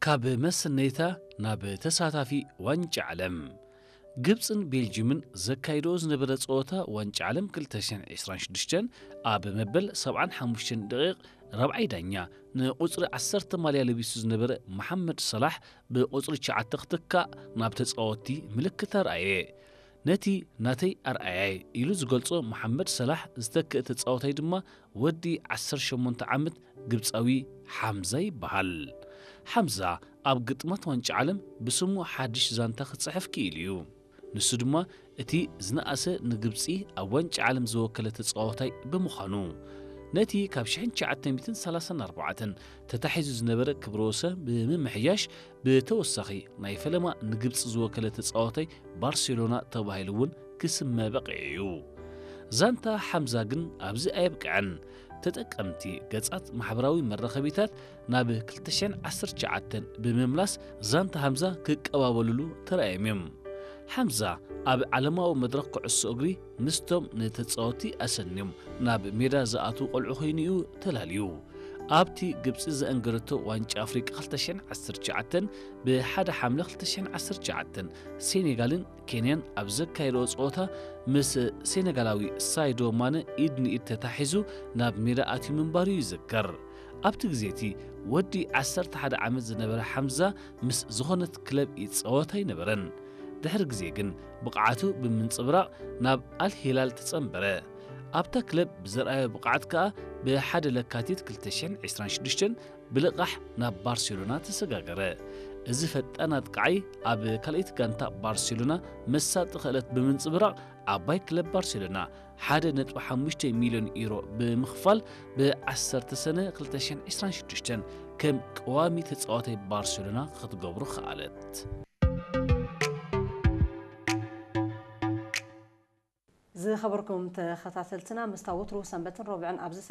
ካብ መሰነይታ ናብ ተሳታፊ ዋንጫ ዓለም። ግብፅን ቤልጅምን ዘካይዶ ዝነበረ ፀወታ ዋንጫ ዓለም ክልተ ሽሕን ዕስራን ሽዱሽተን ኣብ መበል ሰብዓን ሓሙሽተን ደቂቕ ራብዓይ ዳኛ ንቁፅሪ ዓሰርተ ማልያ ለቢሱ ዝነበረ መሓመድ ሰላሕ ብቁፅሪ ትሽዓተ ክትካእ ናብ ተፃወትቲ ምልክት ኣርኣየ። ነቲ ናተይ ኣርኣያይ ኢሉ ዝገልጾ መሓመድ ሰላሕ ዝተክእ ተጻዋታይ ድማ ወዲ ዓሰርተ ሸሞንተ ዓመት ግብጻዊ ሓምዛ ይበሃል። ሓምዛ ኣብ ግጥማት ዋንጫ ዓለም ብስሙ ሓድሽ ዛንታ ክጽሕፍ ክኢሉ እዩ። ንሱ ድማ እቲ ዝነኣሰ ንግብጺ ኣብ ዋንጫ ዓለም ዝወከለ ተጻዋታይ ብምዃኑ፣ ነቲ ካብ ሽሕን ትሽዓተ ሚእትን ሰላሳን ኣርባዕተን ተታሒዙ ዝነበረ ክብረ ወሰን ብምምሕያሽ፣ ብተወሳኺ ናይ ፈለማ ንግብጺ ዝወከለ ተጻዋታይ ባርሴሎና ተባሂሉ እውን ክስመ በቒዑ እዩ። ዛንታ ሓምዛ ግን ኣብዚ ኣየብቅዐን። ተጠቀምቲ ገጻት ማሕበራዊ መራኸቢታት ናብ ክልተ ሽሕን ዓሰርተ ትሽዓተን ብምምላስ ዛንታ ሓምዛ ክቀባበሉሉ ተራእዮም እዮም። ሓምዛ ኣብ ዓለማዊ መድረኽ ኩዕሶ እግሪ ምስቶም ንተጻወትቲ ኣሰንዮም ናብ ሜዳ ዝኣትዉ ቆልዑ ኮይኑ እዩ ተላልዩ። ኣብቲ ግብጺ ዘአንገደቶ ዋንጫ ኣፍሪቃ ክልተ ሽሕን ዓሰርተ ትሽዓተን ብሓደ ሓምለ ክልተ ሽሕን ዓሰርተ ትሽዓተን ሴኔጋልን ኬንያን ኣብ ዘካየደኦ ጸወታ ምስ ሴኔጋላዊ ሳይዶ ማነ ኢድ ንኢድ ተታሒዙ ናብ ሜዳ ኣትዩ ምንባሩ ይዝከር። ኣብቲ ግዜ እቲ ወዲ ዓሰርተ ሓደ ዓመት ዝነበረ ሓምዛ ምስ ዝኾነት ክለብ ይጻወት ኣይነበረን። ድሕሪ ግዜ ግን ብቕዓቱ ብምንጽብራቕ ናብ ኣል ሂላል ተጸንበረ። ኣብታ ክለብ ብዘርኣዮ ብቕዓት ከኣ ብሓደ ለካቲት ክልተ ሽሕን ዕስራን ሽዱሽተን ብልቓሕ ናብ ባርሴሎና ተሰጋገረ። እዚ ፈጣን ኣጥቃዓይ ኣብ ካልኣይቲ ጋንታ ባርሴሎና መሳጢ ክእለት ብምንጽብራቕ ዓባይ ክለብ ባርሴሎና ሓደ ነጥቢ ሓሙሽተ ሚልዮን ዩሮ ብምኽፋል ብዓሰርተ ሰነ ክልተ ሽሕን ዕስራን ሽዱሽተን ከም ቀዋሚ ተጻዋታይ ባርሴሎና ክትገብሮ ከኣለት። ዝኸበርኩም ተኸታተልትና ምስታ ወትሩ ሰንበትን ረቡዕን ኣብዚ